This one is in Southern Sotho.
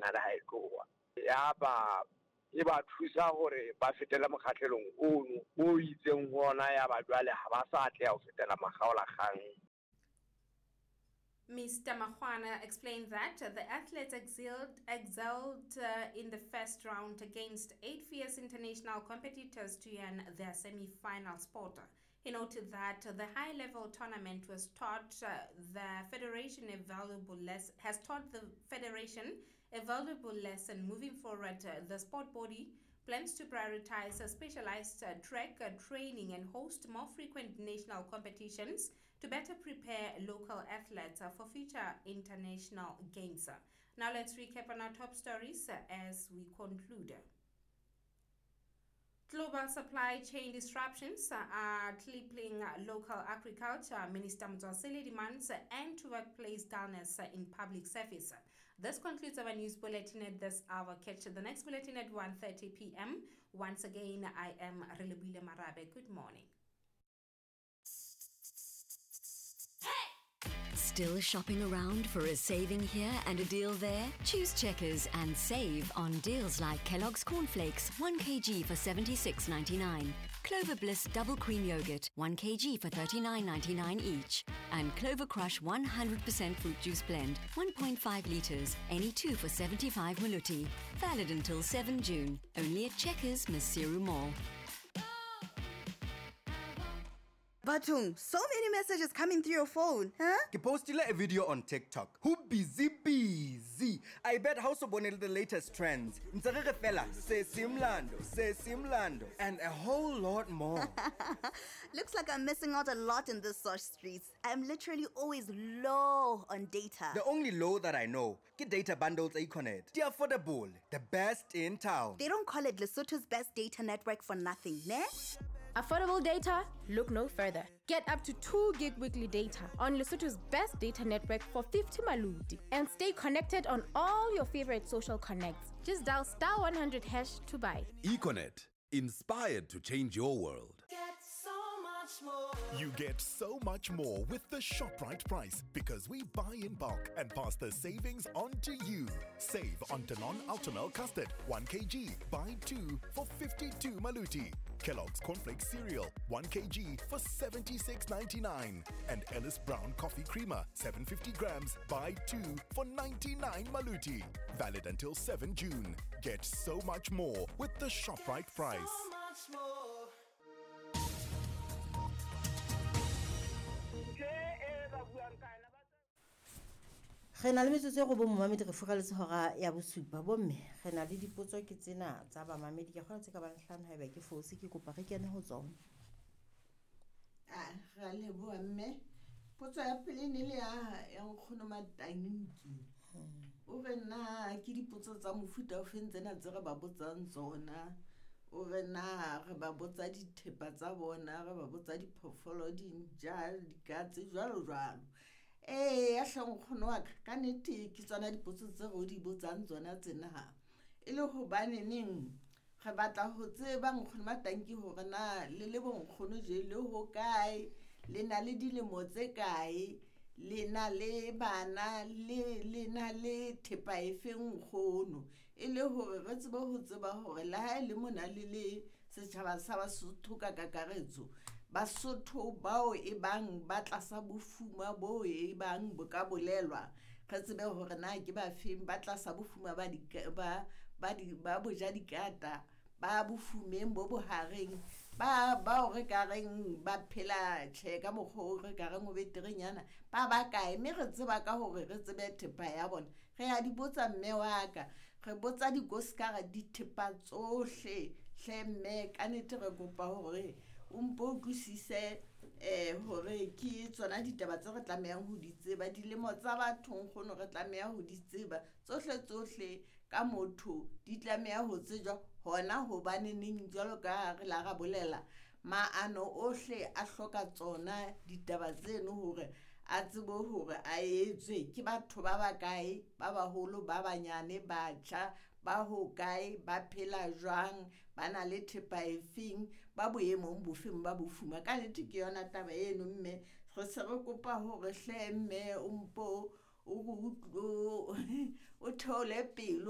final ha e tloha. Yaba e ba thusa hore ba fetele mokgahlelong ono o itseng ho ona yaba jwale ha ba sa atleha ho fetela makgaolakgang. Mr. Makhoana explained that the athletes excelled in the first round against 8 fierce international competitors to earn their semi-final spot. He noted that the high-level tournament was taught the federation a valuable has taught the federation a valuable lesson. Moving forward, the sport body plans to prioritize a specialized track training and host more frequent national competitions to better prepare local athletes for future international games. Now let's recap on our top stories as we conclude. Global supply chain disruptions are crippling local agriculture. Minister Motswasele demands end to workplace dullness in public service. This concludes our news bulletin at this hour. Catch the next bulletin at 1:30 p.m. Once again, I am Relebile Marabe. Good morning. Still shopping around for a saving here and a deal there? Choose Checkers and save on deals like Kellogg's Cornflakes, 1 kg for 76.99, Clover Bliss Double Cream Yogurt, 1 kg for 39.99 each, and Clover Crush 100% Fruit Juice Blend, 1.5 litres, any two for 75 Maluti. Valid until 7 June, only at Checkers, Maseru Mall. Batung, so many messages coming through your phone, huh? Ke postile a video on TikTok. Who busy busy? I bet house bone the latest trends. Ntse re re fela se simlando, se simlando, and a whole lot more. Looks like I'm missing out a lot in this source streets. I'm literally always low on data. The only low that I know, ke data bundles Econet. The affordable, the best in town. They don't call it Lesotho's best data network for nothing, ne? Affordable data? Look no further. Get up to 2 gig weekly data on Lesotho's best data network for 50 maluti and stay connected on all your favorite social connects. Just dial star 100 hash to buy. Econet, inspired to change your world. Get so much more. You get so much more with the ShopRite price because we buy in bulk and pass the savings on to you. Save on Danone Ultimel Custard, 1 kg, buy 2 for 52 Maluti. Kellogg's Cornflakes Cereal, 1 kg for 76.99. And Ellis Brown Coffee Creamer, 750 grams, buy 2 for 99 Maluti. Valid until 7 June. Get so much more with the ShopRite price. So much more. Re na le metsotso e go bo momamedi re fugaletse hora ya bosupa bomme re na le dipotso ke tsena tsa bamamedi ke kgona tse ka bang hlano haeba ke fose ke kopa re kene ho tsona. A ra leboha mme. Potso ya pele ne le ya nkgono Matanki. O re na ke dipotso tsa mofuta o feng tsena tse re ba botsang tsona? O re na re ba botsa dithepa tsa bona, re ba botsa diphoofolo, dintja, dikatse, jwalo jwalo. Ee, ya hle nkgono wa ka, ka nnete ke tsona dipotso tse re o di botsang tsona tsena ha. E le hobane neng re batla ho tseba nkgono Matanki hore na le le bonkgono je le hokae, le na le dilemo tse kae, le na le bana, le na le thepa efe nkgono. E le hore re tsebe ho tseba hore le ha e le mona le le setjhaba sa Basotho ka kakaretso, Basotho bao e bang ba tlasa bofuma bo e bang bo ka bolelwa, re tsebe hore na ke ba feng ba tlasa bofuma ba di ba ba di ba boja dikata, ba bofumeng bo bohareng, ba bao re ka reng ba phela tjhe ka mokgwa o re ka reng o beterenyana, ba ba kae, mme re tseba ka hore re tsebe thepa ya bona. Re a di botsa mme wa ka, re botsa dikoskara dithepa tsohle hle mme, ka nnete re kopa hore o mpo utlwisise hore ke tsona ditaba tse re tlamehang ho di tseba, dilemo tsa batho nkgono re tlameha ho di tseba, tsohle tsohle ka motho di tlameha ho tsejwa hona hobane neng jwalo ka re la ra bolela, maano ohle a hloka tsona ditaba tseno hore a tsebe hore a etswe ke batho ba bakae, ba baholo, ba banyane, batjha, ba hokae, ba phela jwang, ba na le thepa efeng, ba boemong bofeng ba bofuma. Ka nnete ke yona taba eno mme, re se re kopa hore hle mme o mpo o theole pelo.